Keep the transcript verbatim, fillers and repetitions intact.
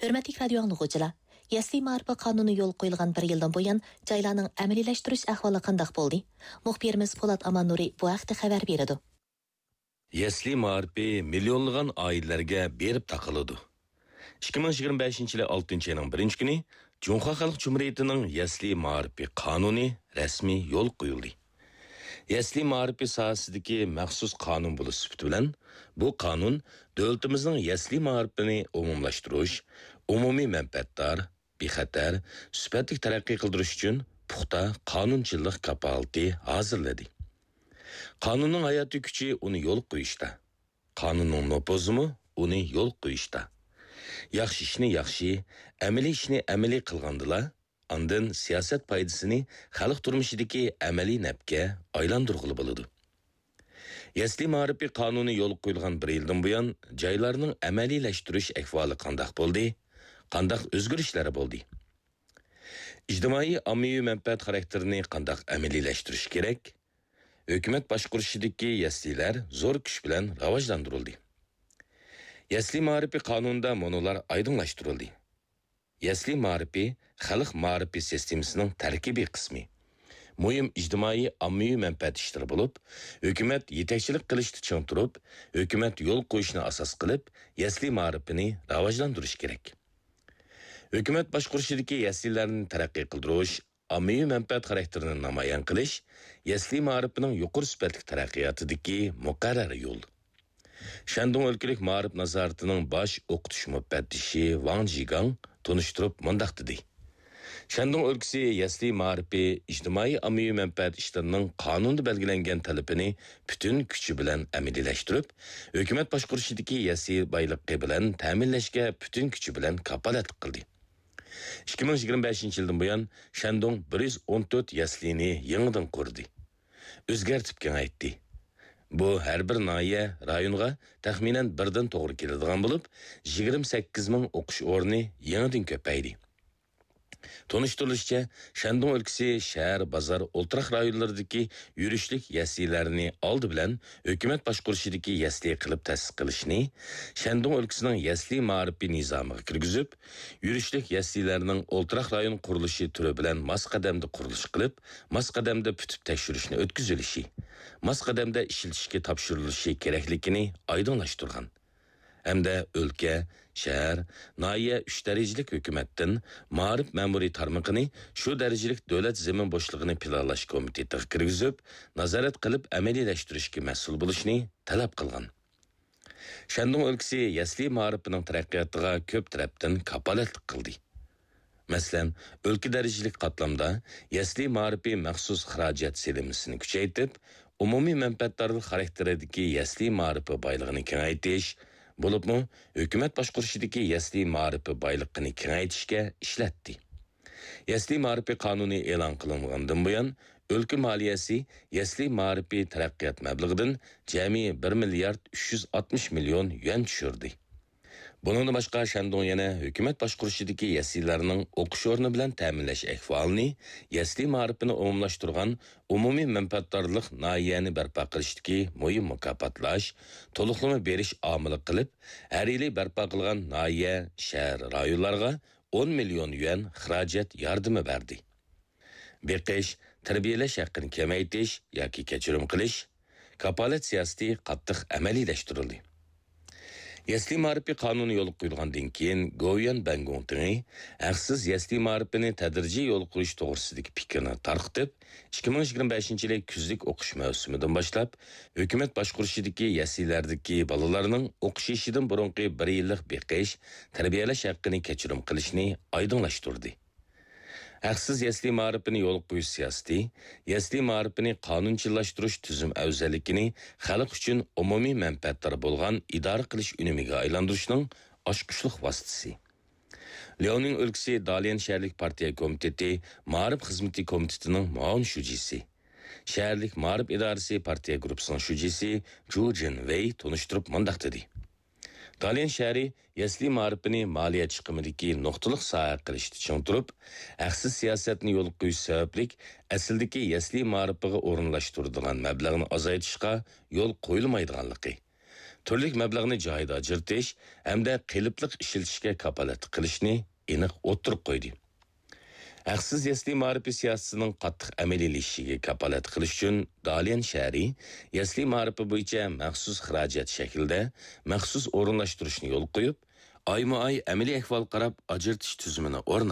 ھۆرمەتلىك رادىيو ئاڭلىغۇچىلار، يەسلى مائارىپى قانۇنى يولغا قويۇلغان بىر يىلدىن بۇيان جايلارنىڭ ئەمەلىيلەشتۈرۈش ئەھۋالى قانداق بولدى؟ مۇخبىرىمىز پولات ئاماننۇرى بۇ ھەقتە خەۋەر بېرىدۇ. يەسلى مائارىپى مىليونلىغان ئائىلىلەرگە بېرىپ تاقىلىدۇ. ئىككى مىڭ يىگىرمە بەشىنچى يىلى ئالتىنچى ئاينىڭ بىرىنچى كۈنى جۇڭخۇا خەلق جۇمھۇرىيىتىنىڭ يەسلى مائارىپى قانۇنى رەسمىي يولغا قويۇلدى. يەسلى مائارىپى ساھەسىدىكى مەخسۇس قانۇن بولۇش سۈپىتى بىلەن، بۇ قانۇن دۆلىتىمىزنىڭ يەسلى مائارىپىنى ئومۇملاشتۇرۇش، ئومۇمىي مەنپەئەتدار، بىخەتەر، سۈپەتلىك تەرەققىي قىلدۇرۇش ئۈچۈن پۇختا قانۇنچىلىق كاپالىتى ھازىرلىدى. قانۇننىڭ ھاياتىي كۈچى ئۇنى يولغا قويۇشتا. قانۇننىڭ نوپۇزىمۇ ئۇنى يولغا قويۇشتا. ياخشى ئىشنى ياخشى، ئەمەلىي ئىشنى ئەمەلىي قىلغاندىلا، ئاندىن سىياسەت پايدىسىنى خەلق تۇرمۇشىدىكى ئەمەلىي نەپكە ئايلاندۇرغىلى بولىدۇ. يەسلى مائارىپى قانۇنى يولغا قويۇلغان بىر يىلدىن بۇيان جايلارنىڭ ئەمەلىيلەشتۈرۈش ئەھۋالى قانداق بولدى؟ قانداق ئۆزگىرىشلەر بولدى؟ ئىجتىمائىي ئاممىۋى مەنپەئەت خاراكتېرىنى قانداق ئەمەلىيلەشتۈرۈش كېرەك؟ ھۆكۈمەت باشقۇرۇشىدىكى يەسلىلەر زور كۈچ بىلەن راۋاجلاندۇرۇلدى. يەسلى مائارىپى قانۇنىدا مۇنۇلار ئايدىڭلاشتۇرۇلدى. يەسلى مائارىپى خەلق مائارىپى سىستېمىسىنىڭ تەركىبىي قىسمى، مۇھىم ئىجتىمائىي ئاممىۋى مەنپەئەت ئىشلىرى بولۇپ، ھۆكۈمەت يېتەكچىلىك قىلىشتا چىڭ تۇرۇپ، ھۆكۈمەت يول قويۇشنى ئاساس قىلىپ، يەسلى مائارىپىنى راۋاجلاندۇرۇش كېرەك. ھۆكۈمەت باشقۇرۇشىدىكى يەسلىلەرنى تەرەققىي قىلدۇرۇش، ئاممىۋى مەنپەئەت خاراكتېرىنى نامايان قىلىش يەسلى مائارىپىنىڭ يۇقىرى سۈپەتلىك تەرەققىياتىدىكى مۇقەررەر يول. شەندۇڭ ئۆلكىلىك مائارىپ نازارىتىنىڭ باش ئوقۇتۇش مۇپەتتىشى ۋاڭ جىگاڭ تونۇشتۇرۇپ مۇنداق دېدى: شەندۇڭ ئۆلكىسى يەسلى مائارىپى ئىجتىمائىي ئاممىۋى مەنپەئەت ئىشلىرىنىڭ قانۇندا بەلگىلەنگەن تەلىپىنى پۈتۈن كۈچى بىلەن ئەمەلىيلەشتۈرۈپ، ھۆكۈمەت باشقۇرۇشىدىكى يەسلى بايلىقى بىلەن تەمىنلەشكە پۈتۈن كۈچى بىلەن كاپالەتلىك قىلدى. ئىككى مىڭ يىگىرمە بەشىنچى يىلدىن بۇيان شەندۇڭ بىر يۈز ئون تۆت يەسلىنى يېڭىدىن قۇردى، ئۆزگەرتىپ كېڭەيتتى. بۇ ھەر بىر ناھىيە، رايونغا تەخمىنەن بىردىن توغرا كېلىدىغان بولۇپ، يىگىرمە سەككىز مىڭ ئوقۇش ئورنى يېڭىدىن كۆپەيدى. تونۇشتۇرۇلۇشىچە، شەندۇڭ ئۆلكىسى شەھەر، بازار، ئولتۇراق رايونلىرىدىكى يۈرۈشلۈك يەسلىلەرنى ئالدى بىلەن ھۆكۈمەت باشقۇرۇشىدىكى يەسلى قىلىپ تەسىس قىلىشنى، شەندۇڭ ئۆلكىسىنىڭ يەسلى مائارىپى نىزامىغا كىرگۈزۈپ، يۈرۈشلۈك يەسلىلەرنىڭ ئولتۇراق رايون قۇرۇلۇشى تۈرى بىلەن ماس قەدەمدە قۇرۇلۇش قىلىپ، ماس قەدەمدە پۈتۈپ تەكشۈرۈشنى ئۆتكۈزۈلۈشى، ماس قەدەمدە ئىشلىتىشكە تاپشۇرۇلۇشى كېرەكلىكىنى ئايدىڭلاشتۇرغان. ھەمدە ئۆلكە، شەھەر، ناھىيە ئۈچ دەرىجىلىك ھۆكۈمەتتىن مائارىپ مەمۇرىي تارمىقىنى شۇ دەرىجىلىك دۆلەت زېمىن بوشلۇقىنى پىلانلاش كومىتېتىغا كىرگۈزۈپ، نازارەت قىلىپ ئەمەلىيلەشتۈرۈشكە مەسئۇل بولۇشنى تەلەپ قىلغان. شەندۇڭ ئۆلكىسى يەسلى مائارىپىنىڭ تەرەققىياتىغا كۆپ تەرەپتىن كاپالەتلىك قىلدى. مەسىلەن، ئۆلكە دەرىجىلىك قاتلامدا يەسلى مائارىپى مەخسۇس خىراجەت سېلىنمىسىنى كۈچەيتىپ، ئومۇمىي مەنپەئەتدارلىق خاراكتېرىدىكى يەسلى مائارىپى بايلىقىنى كېڭەيتىش، بولۇپمۇ ھۆكۈمەت باشقۇرۇشىدىكى يەسلى مائارىپى بايلىقىنى كېڭەيتىشكە ئىشلەتتى. يەسلى مائارىپى قانۇنى ئېلان قىلىنغاندىن بۇيان، ئۆلكە مالىيەسى يەسلى مائارىپى تەرەققىيات مەبلىغىدىن جەمئىي بىر مىليارد ئۈچ يۈز ئاتمىش مىليون يۈەن چۈشۈردى. بۇنىڭدىن باشقا، شەندۇڭ يەنە ھۆكۈمەت باشقۇرۇشىدىكى يەسلىلەرنىڭ ئوقۇش ئورنى بىلەن تەمىنلەش ئەھۋالىنى، يەسلى مائارىپىنى ئومۇملاشتۇرغان ئومۇمىي مەنپەئەتدارلىق ناھىيەنى بەرپا قىلىشتىكى مۇھىم مۇكاپاتلاش، تولۇقلىما بېرىش ئامىلى قىلىپ، ھەر يىلى بەرپا قىلغان ناھىيە، شەھەر، رايونلارغا ئون مىليون يۈەن خىراجەت ياردىمى بەردى. بېقىش، تەربىيەلەش ھەققىنى كېمەيتىش ياكى كەچۈرۈم قىلىش، كاپالەت سىياسىتى قاتتىق ئەمەلىيلەشتۈرۈلدى. يەسلى مائارىپى قانۇنى يولغا قويۇلغاندىن كېيىن، گوۋۇيۈەن بەنگوڭتىڭى ھەقسىز يەسلى مائارىپىنى تەدرىجىي يولغا قويۇش توغرىسىدىكى پىكىرنى تارقىتىپ، ئىككى مىڭ يىگىرمە بەشىنچى يىلى كۈزلۈك ئوقۇش مەۋسۇمىدىن باشلاپ، ھۆكۈمەت باشقۇرۇشىدىكى يەسلىلەردىكى بالىلارنىڭ ئوقۇش يېشىدىن بۇرۇنقى بىر يىللىق بېقىش، تەربىيەلەش ھەققىنى كەچۈرۈم قىلىشنى ئايدىڭلاشتۇردى. ھەقسىز يەسلى مائارىپىنى يولغا قويۇش سىياسىتى، يەسلى مائارىپىنى قانۇنچىللاشتۇرۇش تۈزۈم ئەۋزەللىكىنى خەلق ئۈچۈن ئومۇمىي مەنپەئەتدار بولغان ئىدارە قىلىش ئۈنۈمىگە ئايلاندۇرۇشنىڭ ئاچقۇچلۇق ۋاسىتىسى. لياۋنىڭ ئۆلكىسى داليەن شەھەرلىك پارتىيە كومىتېتى مائارىپ خىزمىتى كومىتېتىنىڭ مۇئاۋىن شۇجىسى، شەھەرلىك مائارىپ ئىدارىسى پارتىيە گۇرۇپپىسىنىڭ شۇجىسى جۇ جىن ۋېي تونۇشتۇرۇپ مۇنداق دېدى: داليەن شەھىرى يەسلى مائارىپىنى مالىيە چىقىمىدىكى نۇقتىلىق ساھە قىلىشتا چىڭ تۇرۇپ، ھەقسىز سىياسەتنى يولغا قويۇش سەۋەبلىك ئەسلىدىكى يەسلى مائارىپىغا ئورۇنلاشتۇرىدىغان مەبلەغنى ئازايتىشقا يول قويۇلمايدىغانلىقى، تۈرلۈك مەبلەغنى جايىدا ئاجرىتىش ھەمدە قېلىپلىق ئىشلىتىشكە كاپالەتلىك قىلىشنى ئېنىق ئوتتۇرىغا قويدى. ھەقسىز يەسلى مائارىپى سىياسىتىنىڭ قاتتىق ئەمەلىيلىشىشىگە كاپالەتلىك قىلىش ئۈچۈن، داليەن شەھىرى يەسلى مائارىپى بويىچە مەخسۇس خىراجەت شەكلىدە مەخسۇس ئورۇنلاشتۇرۇشنى يولغا قويۇپ، ئايمۇ ئاي ئەمەلىي ئەھۋالغا قاراپ ئاجرىتىش تۈزۈمىنى ئورناتتى.